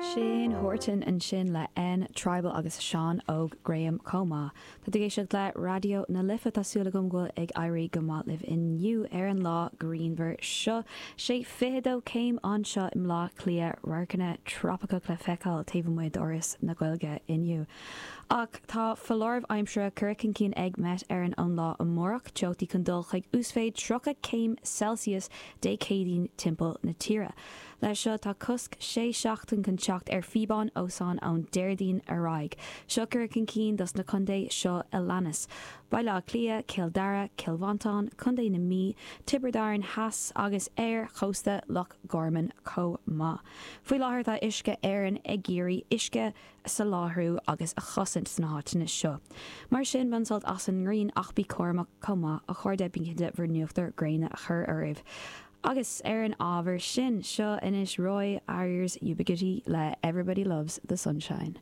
Shane Horton ansin le N Tribal agus Seán Óg Graham chomh maith. Tá tú ag éisteacht le Raidió na Life, tá súil agam go bhfuil ag éirí go maith libh inniu ar an lá grianmhar seo. Sé 22 céim anseo i mBleá Cliath, radharcanna trópaiceach le feiceáil taobh amuigh d'Fhoras na Gaeilge inniu. Ach tá foláireamh aimsire curtha chun cinn ag Met Éireann ón lá amárach, teochtaí chun dul chuig uasmhéid 30 céim Celsius Dé Céadaoin timpeall na tíre. Leis seo tá cosc sé seachtain chun teacht ar phíobáin ózóin ón Déardaoin ar aghaidh. Seo curtha chun cinn dos na contae seo a leanas, Baile Átha Cliath, Cill Dara, Cill Mhantáin, Contae na Mí, Tiobraid Árann Theas agus ar chósta Loch Garman chomh maith. Faoi láthair tá Uisce Éireann ag iarraidh uisce a soláthar agus a chosaint sna háiteanna seo. Mar sin, bain sult as an ngrian ach bí cúramach chomh maith, a chairde, bí cinnte bhur n-uachtar gréine a chur oraibh. Agus ar an ábhar sin, seo anois Roy Ayers Ubiquity le Everybody Loves the Sunshine.